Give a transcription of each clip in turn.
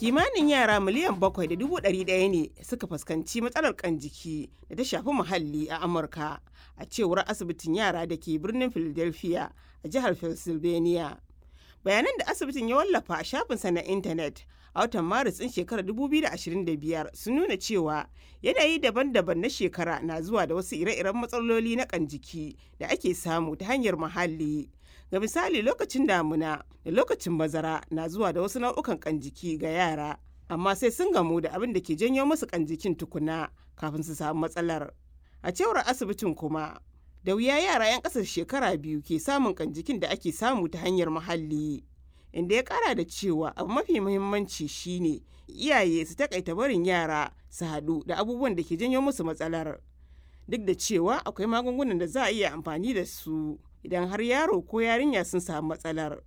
Kimanin yara 7.1 miliyan ne suka fuskanci matsalar ƙan jiki da ta shafi muhalli a Amurka, a cewar asibitin yara da ke birnin Philadelphia a jihar Pennsylvania. Bayanan da asibitin ya wallafa a shafinsa na intanet a watan Maris ɗin shekarar 2025 sun nuna cewa yanayi daban-daban na shekara na zuwa da wasu ire-iren matsaloli na ƙan jiki da ake samu ta hanyar muhalli. Ga misali, lokacin damuna da lokacin bazara na zuwa da wasu nau'ukan ƙan jiki ga yara, amma sai sun gamu da abin da ke janyo musu ƙan jikin tukuna kafin su samu matsalar. A cewar asibitin kuma, da wuya yara 'yan ƙasar shekara 2 ke samun ƙan jikin da ake samu ta hanyar muhalli. Inda ya kara da cewa abu mafi muhimmanci shine iyaye su takaita barin yara su haɗu da abubuwan da ke janyo musu matsalar. Duk da cewa akwai magungunan da za a iya amfani da su idan har yaro ko yarinya sun samu matsalar.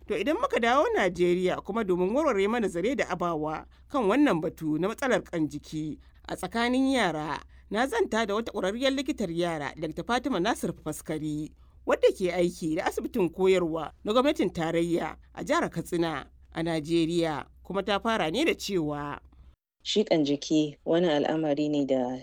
To, idan muka dawo Najeriya kuma, domin warware mana zare da abawa kan wannan batu na matsalar kan jiki a tsakanin yara, na zanta da wata ƙwararriyar likitar yara, Dr. Fatima Nasir Faskari, wadda ke aiki da asibitin koyarwa na gwamnatin tarayya a jihar Katsina a Najeriya, kuma ta fara ne da cewa: Shiƙan jiki wani al'amari ne da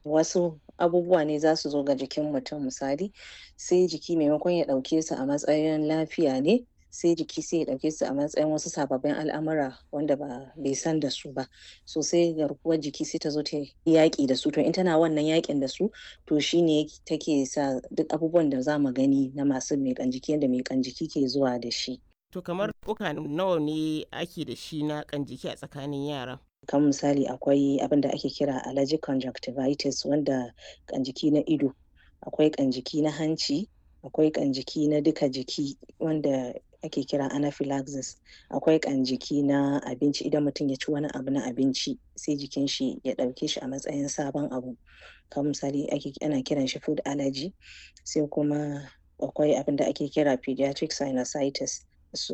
wasu abubuwa ne za su zo ga jikin mutum, misali, sai jiki maimakon ya ɗauke su a matsayin lafiya ne, sai jiki sai ya ɗauke su a matsayin wasu sababbin al'amura wanda ba bai san da su ba. So sai garkuwar jiki sai ta zo ta yaƙi da su. To, in tana wannan yaƙin da su, to shine take sa duk abubuwan da za mu gani na masu miƙan jiki, yadda miƙan jiki ke zuwa da shi. To, kamar uka nawa ne ake da shi na kan jiki a tsakanin yara? Kan misali, akwai abin da ake kira allergic conjunctivitis, wanda kan jiki na ido, akwai kan jiki na hanci, akwai kan jiki na duka jiki wanda ake kira anaphylaxis, akwai kan jiki na abinci, idan mutum ya ci wani abu na abinci sai jikin shi ya ɗauke shi a matsayin sabon abu, kamar misali ana kiran shi food allergy. Sai kuma akwai abin da ake kira pediatric sinusitis,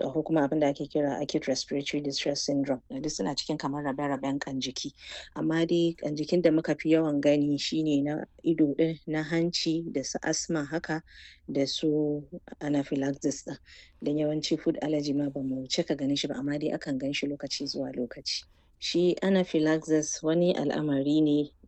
akwai kuma abin da ake kira acute respiratory distress syndrome. Duk suna cikin kamar rabe-raben kan jiki, amma dai kan jikin da muka fi yawan gani shine na ido din, na hanci, da su asma haka, da su anaphylaxis din. Don yawanci food allergy ma ba mu cika ganin shi ba, amma dai akan gan shi lokaci zuwa lokaci. Shi anaphylaxis wani al'amari ne